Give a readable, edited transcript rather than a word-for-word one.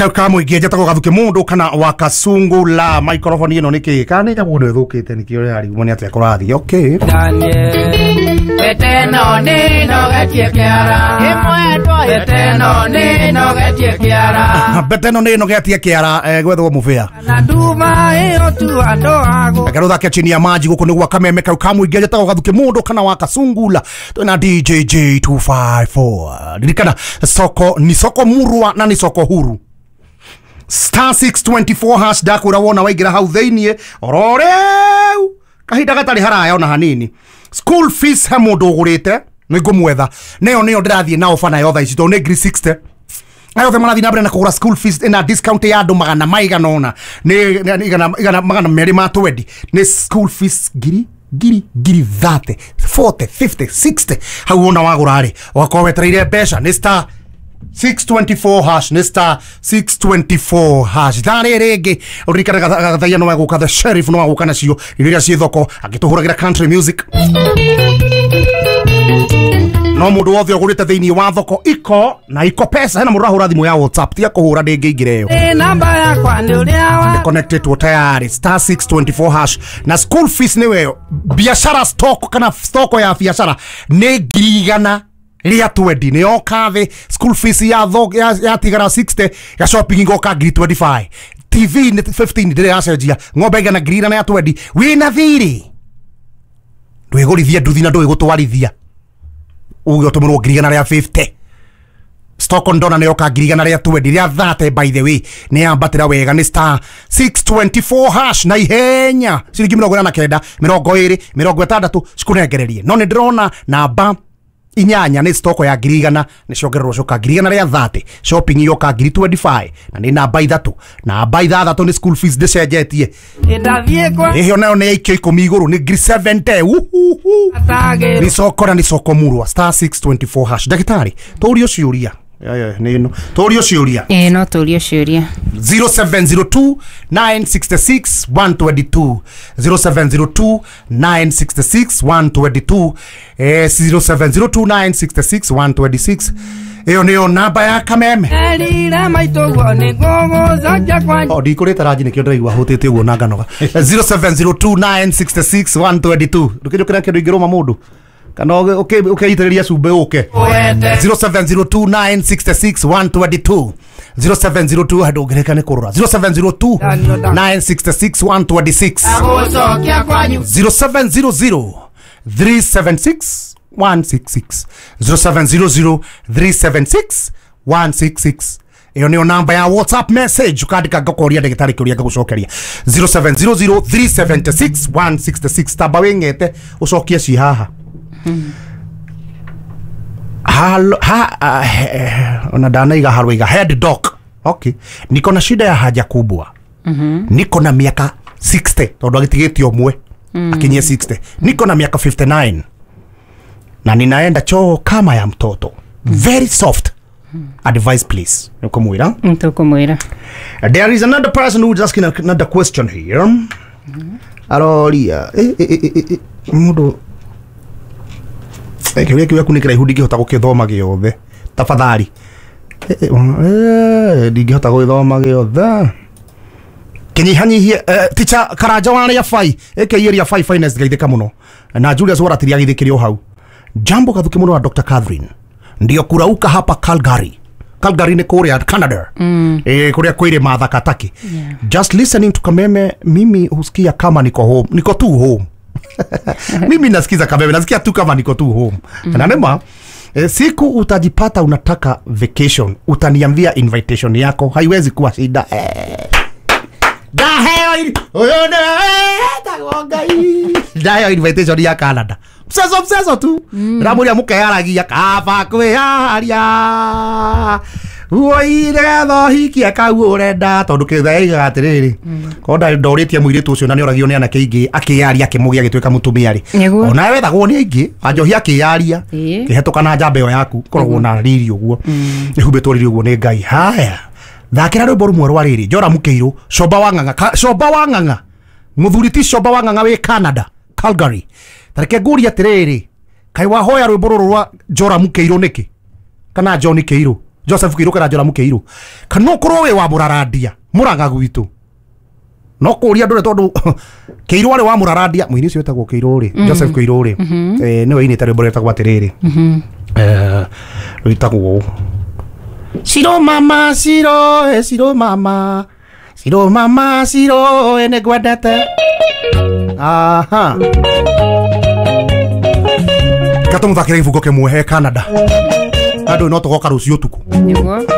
Ka mũingĩ njĩtagwo Gathuki Mũndũ kana wa Kasungula. Microphone ĩno nĩ kĩ kana nĩ nyamũ ĩno ĩthũkĩte nĩkĩo ũrarigwo nĩ atĩa kũrathiĩ. Okay. Beteno nĩ nogetie kĩara ĩmwendwa, beteno nĩ nogetie kĩara. Beteno nĩ ĩnogetie kĩara, gwethwo mũbĩa na nduma ĩyo tu andũ ago. Reke rũthake chini ya maji. Gũkũ nĩ gwa kameme kau ka mũingĩ, njĩtagwo Gathuki Mũndũ kana wa Kasungula. Twĩna DJ J254. Ririkana soko ni soko murwa na ni soko huru. Star 624 hash. Ndakwĩra wona waingĩra hau thĩiniĩ oro rĩu kahinda gatarĩ haraya ona hanini, school fees he mũndũ ũgũrĩte nĩ ngũmwetha nĩyo nĩyo ndĩrathiĩ na ofa nayo thaa ici tondũ nĩ ngiri 60. Aya othe marathiĩ na mbere na kũgũra school fees ina discount ya andũ magana maigana ũna nĩ igana 220 ma 20 nĩ school fees ngiri ngiri ngiri 30, 40, 50, 60. Hau wona wagũra rĩ, ũgakorwo wetereire mbeca. Nĩ star 624 hash, nĩ star 624 hash. Thaa rĩrĩ rĩngĩ ũririkane gathaia no agũka, the sheriff no agũka nacio irio iria ciĩ thoko agĩtũhũragĩra country music. No mũndũ wothe ũgũrĩte thĩinĩ wa thoko iko na iko pesa. Hena mũndũ ũrahũra thimũ ya WhatsApp, tiga kũhũra, ndĩngĩingĩra ĩyo. Ĩ namba yakwa nĩ ũrĩa wa Connected tayari, star 624 hash na school fees nĩwe biashara stock kana stoko ya biashara nĩ 120,000 nĩ yoka thĩ. School fees ya tho ya tigara 60, ya shopping igoka ngiri 25, TV nĩ 15 ndĩrĩ yacenjia, ng'ombe igana 120,000. Wĩna thirĩ ndwĩgũrithie nduthi na ndũĩ uge ũtũmĩrwo 150,000. Stock on ndona nĩ yoka 120,000 rĩa 30. By the way, nĩ yambatĩra wega. Nĩ star 624 hash na ihenya, ciringi 49, 20, 60 cikũnengererie. No nĩ ndĩrona namba inyanya nĩ stoko ya 100,000 nĩ ciongererwo coka 130,000, shopping yoka ngiri 25 na nĩ namba ithatũ. Namba ithathatũ nĩ school fees ndĩcenjetie. Ndathiĩ kwa ĩhio nayo nĩ yaikio 10 igũrũ, nĩ ngiri 70. Uhuhu. Atagĩrwo. Nĩ soko na nĩ soko murwa, star 624 hash. Ndagĩtarĩ, tũrio ciũria. Ya, nĩ ĩno tũrio ciũria. Ĩĩ, no tũrio ciũria. 0702 966 122, 0702 966 122, 0702 966 126. Ĩyo nĩyo namba ya kameme. Erire maitũguo nĩ ngũgũcokia kwa O ndikũrĩte ranji nĩkĩo ndĩraigua hũtĩte ũguo na nganoga. 0702 966 122. Ndũkĩnjũkĩra kĩndũ ingĩrũma mũndũ kana ũkeitĩrĩria cumbĩ ũke. Wete. 0702 966 122, 0702 handũ ũngĩrĩka nĩ kũrũra, 0702 966 126. Agũcokia kwanyu. 0700 376 166, 0700 376 166. Ĩyo nĩyo namba ya WhatsApp message. Ũkandĩka ngakũria ndagĩtarĩ kĩũria ngagũcokeria. 0700 376 166. Tamba wĩng'ete ũcokie ci haha. Halo, ha, ona ndanaiga harwaiga head doc. Okay, niko na shida ya haja kubwa. Niko na miaka 60, tondu agitigĩtie ũmwe akinyie 60. Niko na miaka 59 na ninaenda choo kama ya mtoto, very soft. Advice please. Nĩũkũmwĩra? Tũkũmwĩra. There is another person who is asking another question here. Aroria mũndũ kĩũria kĩu gĩaku nĩ kĩraihu, ndingĩhota gũkĩthoma gĩothe, tafadhali. Ndingĩhota gũgĩthoma gĩothe, kĩnyihanyihie. Ticha Karanja wa rĩa bai aka ria bai finance, geithĩka mũno na Julius Waratiria geithĩkĩre o hau. Jambo Gathuki mũno wa Dr. Catherine, ndio kurauka hapa Calgary. Calgary nĩ kũrĩa Canada, kũrĩa kwĩ irĩma thakataki. Just listening to Kameme, mimi husikia kama niko home, niko tu home. Mimi nasikiza Kameme, nasikia tu kama niko tu home. Na nema siku utajipata unataka vacation, utaniambia invitation yako haiwezi kuwa shida. Ndaheo ũyũ nĩwe Ngai, ndaheo invitation ya Canada mcezo mcezo tu. Ndamũria mũkeyaragia kaba kwĩyaria woi nĩgetha ũhikie kau ũrenda, tondũ kĩthaigaga atĩrĩrĩ, korwo ndorĩtie mũirĩtu ũcio na nĩoragio nĩ anake aingĩ, akĩyaria akĩmũgĩa agĩtuĩka mũtumia rĩ. Onawe wethagwo nĩ aingĩ anjohi akĩyaria kĩhetũka na njamba ĩyo yaku koragwo na riri ũguo ĩhumbĩtwo riri ũguo nĩ Ngai. Haya, thakĩra rwĩmbo rũmwe rwa rĩrĩ Njora Mũkĩirũ, Comba wa Ng'ang'a. Comba wa Ng'ang'a, mũthuri ti Comba wa Ng'ang'a wĩ Canada Calgary, tareke ngũrie atĩrĩrĩ, kaĩ wahoya rwĩmbo rũrũ rwa Njora Mũkĩirũ nĩkĩ kana John Kĩirũ? Joseph Kiiru kana Joramu Kiiru kana ukorwo wi wa Murarandia Murang'a gwitu no kuria ndure tondu Kiiru ari wa Murarandia muini ucio wetagwo Kiiru ri Joseph Kiiru ri niwe inite rwimbo rwetagwo atiriri rwitagwo Ciro mama ciro ciro mama ciro mama ciro nĩngwendete. Aha gatũmũthakĩre gĩbungo kĩmwe he Canada andũ no tũgoka rũciũ ũtukũ Nĩguo.